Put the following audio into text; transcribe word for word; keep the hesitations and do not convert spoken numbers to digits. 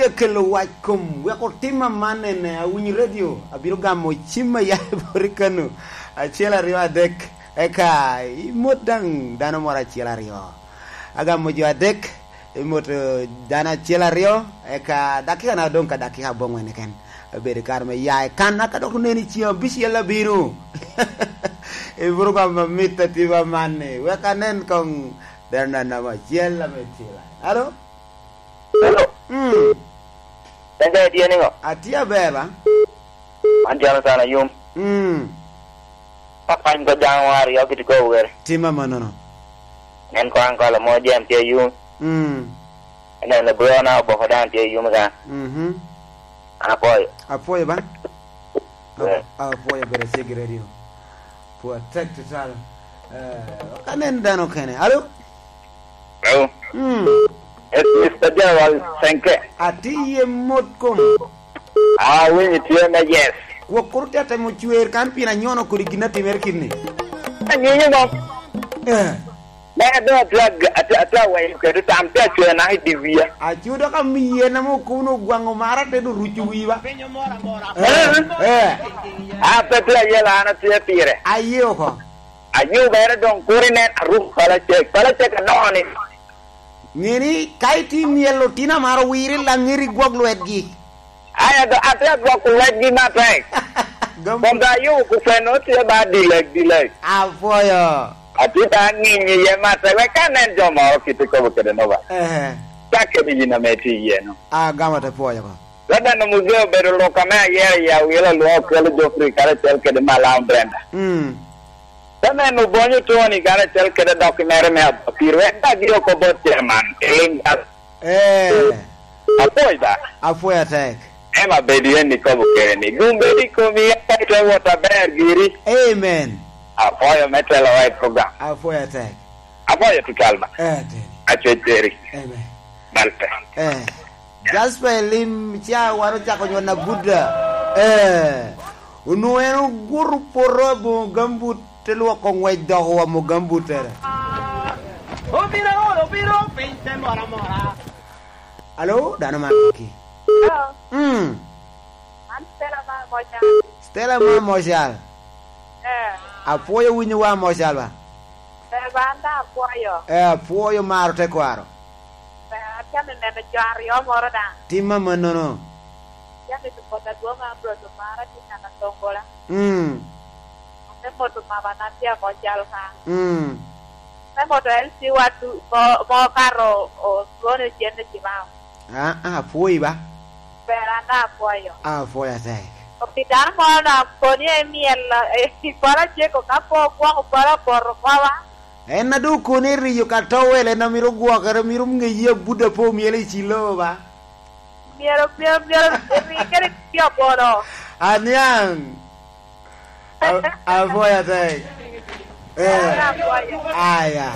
Ekelo wac kom, wek otim aman ene, awinyo redio, abino gamo cim a ya i boti kano, acel, aryo, adek, eka imot daŋ dano moro acel aryo. Agamo jo adek, imot, eh, dano acel aryo, eka dakika na doŋ ka dakika aboŋwen keken. Abedo i kare me ya i kan, aka dok oneno i cim abicel abino. Iburo gamo amit atima aman ni, wek anen koŋ dano anama acel ame tila. Alo? Hello. Mm. Pen ka itye niŋo? Atye aber ba? Man Jonathan Ayum. Mm. Ka pany ko jaŋ wa aryo kiti ko wer. Tim amannono. Nen ko aŋ kolo mo jem tye Ayum. Mm. Nen lebro na oboko daŋ tye Ayum ka. Mhm. An apwoyo. Apwoyo ba? Ap-, Yeah. Apwoyo bedo cik i radio. Pwod tek tutwal. Eh, ok anen dano kene. Alo? Hello. Mm. Yes, Mister General Senke. Atye iye mot kom. Ah, winyi tye me yes. Kwok kuru te temo cwer kan pien anyono kodi gin atimere kit ni. Anyinyo mo. Eh. Me do atye ag-, atye, atye aweyo kede tam, tye acwer naka i di wiya. Acudo ka miye na mo kuno ogwango mara te do ruco wiwa. Eh, eh. A pe tye ayela an atye pire. Aye oko. Ayubere doŋ kur inen aruko pala cek. Pala cek anoni. Ŋeni ka itye myel otino amaro wiri laŋeri gwok lwetgi. Aya do, ate agwoko lwetgi matek. Gam- Kom da ayubo kuceno tye ba dilek, dilek. Apwoyo. Atye ba aŋinyo iye matek, wek ka nen jo moro kite kobo kede no ba. Ehe. Cak kede yin ame tye iye no. Agamo te pwoyo ko. Reverend Muzee obedo lok ame ayero i awilo lwak okelo Geoffrey karacel kede Malam Brenda. Mm. Te neno Bonyo Tony karacel kede dok i mere me Abapir, wek dagi oko bot chairman, i Linda. Eh. Apwoyo da. Apwoyo atek. Ema bedi en ikobo kede ni, gum bedi i komi, eka ite wot aber giri. Amen. Apwoyo me telowa i program. Apwoyo atek. Apwoyo tutwal ba. Eh, atek. Acwec peri. Amen. Bal pe. Eh. Jasper Elim ca wan ocako nywon abuda. Eh. Onwoŋo en oguto poto aboŋo gambut, te lwoko ŋwec dok owomo gambuttere. Obiro, obiro piny te mora mora. Alo, dano man ki? Hello. Mm. An Stella ma Mocal. Stella ma Mocal. Eh. Apwoyo winyo wa Mocal ba? Eh, ba an da apwoyo. Eh, apwoyo maro tekwaro. Eh, atye neno jo aryo moro daŋ. Tim amannono. Atye neno bot adwoŋ Ambrose Omara, tye neno Atongola. Mm. Ate moto mama na tye amo cal ka. Mm. Ate moto L C wa tu, mo, mo kato o, o, twone ocenne Cibao. Ah, ah, apwoyi ba? Ber an daŋ apwoyo. Ah, apwoyo atek. Pi dano moro na koni emyel, eh, i pala ceko ka po gwoko pala poto kowa. En a doŋ okoni eriyo ka towel, en a mito gwokere, mito ŋeyi abuda pe omyel i cilo ba? Myero, myero, myero eri kede tye abono. Aniaŋ. A-, apwoyo atek. Eh. Apwoyo. Aya.